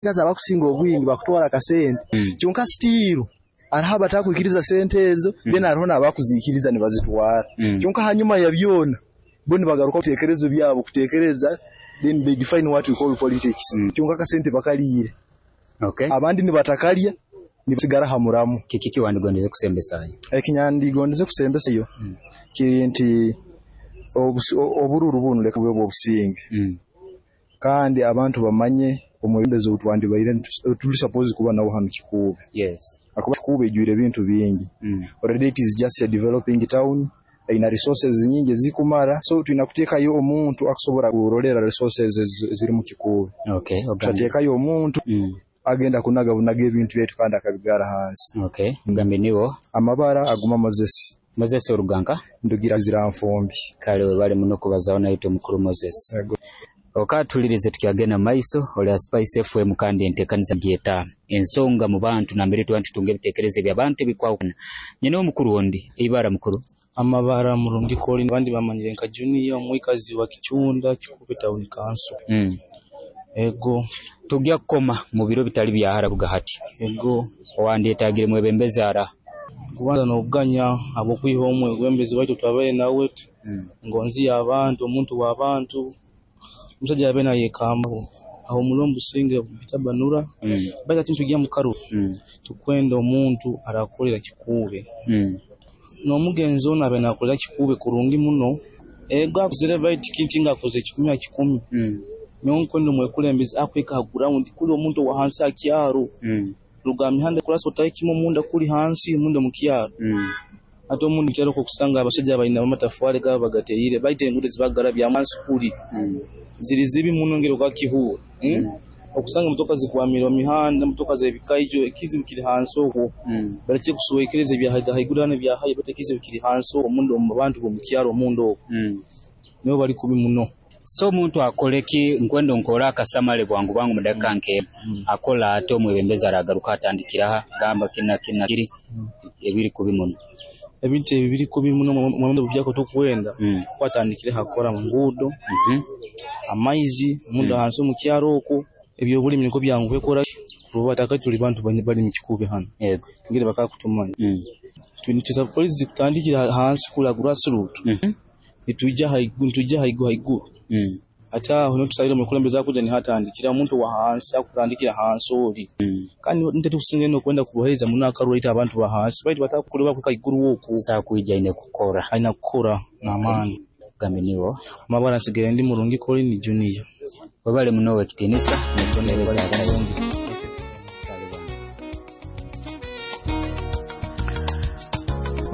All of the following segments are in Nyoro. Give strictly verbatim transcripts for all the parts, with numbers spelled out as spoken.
Abakusinga obwingi bakutwara akasente Mm. kyonka still hariho abatakwikiriza sente ezo Mm. then hariho n'abakuziikiriza nibazitwara Mm. kyonka hanyuma ya byona bo nibagaruka biteekerezo byabo kuteekereza then they define what we call politics Mm. kyonka akasente bakaliire Okay. abandi nibatakalya nibasigara ha muramwa. Kiki kiwandigondeze kusembesayo? Ekinyandigondeze kusembesayo Mm. kiri nti obusi obururu bunu leka bube bw'obusinge Mm. kandi abantu bamanye omwebembezi ou twandibaire nitu tuli supposed kuba nawe hanu Kikuube Yes. hakuba Kikuube ijwire ebintu bingi Mm. already it is just a developing town eyina resources nyingi ezikumara so twina kuteekayo omuntu akusobora kurolerra resources eziri mu Kikuube Okay. Ogambe. tutateekayo omuntu Mm. agenda kunaga bunaga ebintu byaitu kandi akabigaara hansi. Okay. Ogambe niwo Amabara aguma Moses. Moses oruganka ndugira Nfumbi. Kale webale muno kubazaho naitwe mukuru Moses. Ego. Okatulirize tukyagenda mu maiso oli ha Spice F M kandi enteekaniza gyeta ensonga mu bantu nambere tuba nitutunga ebiteekerezo eby'abantu ebikwahukana. Nyina omukuru ondi ibara mukuru Amabara Murungi Colin abandi bamanyire nka Junior omwikazi wa Kichunda Kikuube Town Council. Mm. Ego. Tugya kukoma mu biro bitali byahara kuruga hati. Ego. Owandyetagire mwebembezi ara Kubanza n'okuganya habw'okwiha omwebembezi waitu twabaire nawe Mm. ngonzi y'abantu omuntu w'abantu omusaija yabaire nayekambaho ahumura omu businge Bitabanura Mm. baitu hati nitugya mu karuru Mm. tukwenda omuntu arakolera Kikuube Mm. n'omugenzi onu abaire nakolera Kikuube kurungi muno ego akuzire baitu kinti nga akozere kikumi ha kikumi Mm. nyowe nkwenda omwekulembezi akwika ha ground kuli omuntu owa hansi ha kyaro Mm. ruga ha mihanda kurasa otahe kimwe omunda kuli hansi omunda omu kyaro Mm. ate omundi mu kyaro okusanga abashaija baina amatafari gaabo bagateire baitu enguudo zibagarabyamu hansi kuli Mm. ziri zibi muno ngeri okakihuura mm? Mm. okusanga emotoka zikwamire omu mihanda emotoka z'ebikaijo ekizibu kiri hansi okwo Mm. baleke kuswekereza ebya haiguru hanu ebya hayi baitu ekizibu kiri hansi okwo omunda omu bantu b'omu kyaro omunda okwo Mm. nibo bali kubi muno. So omuntu akole ki nkwenda onkore akasamale bwangu bwangu mu dakika nke Mm. akola ate omwebembezi aragaruka atandikira aha gamba kina kina kiri Mm. ebiri kubi muno. Ebintu ebi biri kubi muno mwebembezi byako tukwenda Mm. kwatandikire hakora mu nguudo Mhm. amaizi omunda Mm. hansi omu kyaro okwo ebyobulimi nikwo byanguhe kukora kuba takati tuli bantu bali mu Kikuube hanu Yego. ngeri bakakutumanya Mm. twine polisi kutandikira hansi kula grassroot Mhm. nitwija haiguru nitwija haiguru haiguru Mm. ate aho nitusabira omukulembeze akuja nihatandikira omuntu wa hansi akutandikira hansi ori Mm. kandi nitetukusinga ino kwenda kubohereza muno akaruru abantu ba hansi baitu batakukureba kwika haiguru okwo Saa kwija aine kukora aina kukora n'amaani. Gambe niwo Amabara nsigaire ndi Murungi Colin Junior. Webale muno ow'ekitiinisa n'okutuheereza akaire.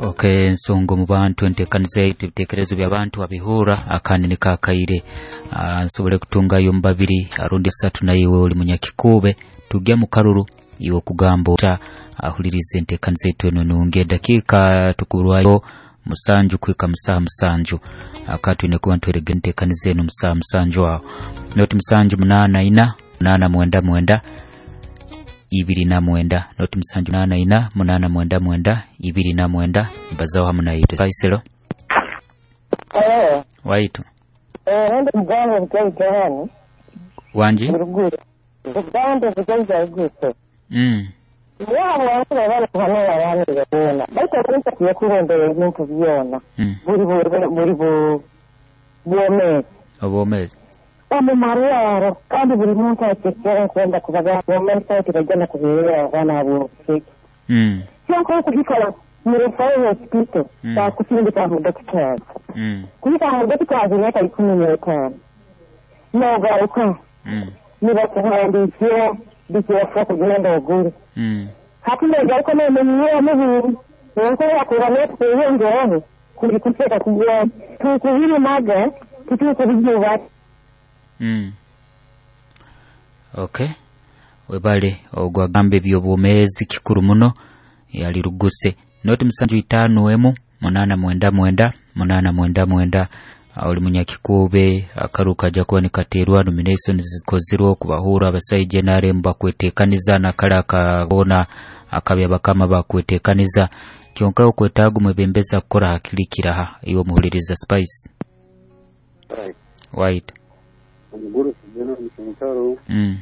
Okay, ensonga omu bantu enteekaniza yaitu ebiteekerezo by'abantu abihura akandi niko akaire uh, nsobole kutungayo mu babiri arundi esatu naiwe oli munyakikuube tugya mu karuru iwe okugamba ota ahuliriza enteekaniza yaitu eno nungi edakiika tukurwayo musanju kuhika musaha musanju aka twine kuba nitwerega enteekaniza eno musaha musanju aho noti musanju munaana ina munaana mwenda mwenda ibiri na mwenda noti musanju munaana ina munaana mwenda mwenda ibiri na mwenda mbazaho hamu naitwe Faisalo Eh, waitu eh, nende muganda bujaija hano wanji Ruguru. Buganda bujaija ruguru. mm. Yabo wange bali hano abantu byona. Baitu omuntu yakulondera ebintu byona. mm. Buli buli buli bu bwomeezi. Obwomeezi Omu marwaro kandi buli muntu atekera kwenda kubaga bwomeezi ati bajja kubeera abaana ab'obuseke. mm. Kyonka okubikola mu referral hospital Mm. bakusindika mu doctors. mm. Kuyita mu doctors emyaka ikumi n'etaano. N'ogaruka mm. nibakuhandiikira bikibafa kugenda ogule. mm. Hati n'ogaruka n'omenyera mubiri enkulaakulana n'okweyongeraho kuli kuteeka kugwa tukubirimaga tutukubijuba. Mm. Okay. Webale ogwo agamba ebyobwomeezi kikuru muno yali ruguse noti musanju itaano emu munaana mwenda mwenda munaana mwenda mwenda oli munyakikuube akaru kajja kuba nikateerwa nominations zikozirwe okubahura abasaija N R M bakweteekaniza nakale akabona akabya bakama bakweteekaniza kyonka okwetaaga omwebembezi akukora hakirikiraha iwe omuhuliriza Spice Right. White Omuguru General Mutaro mm.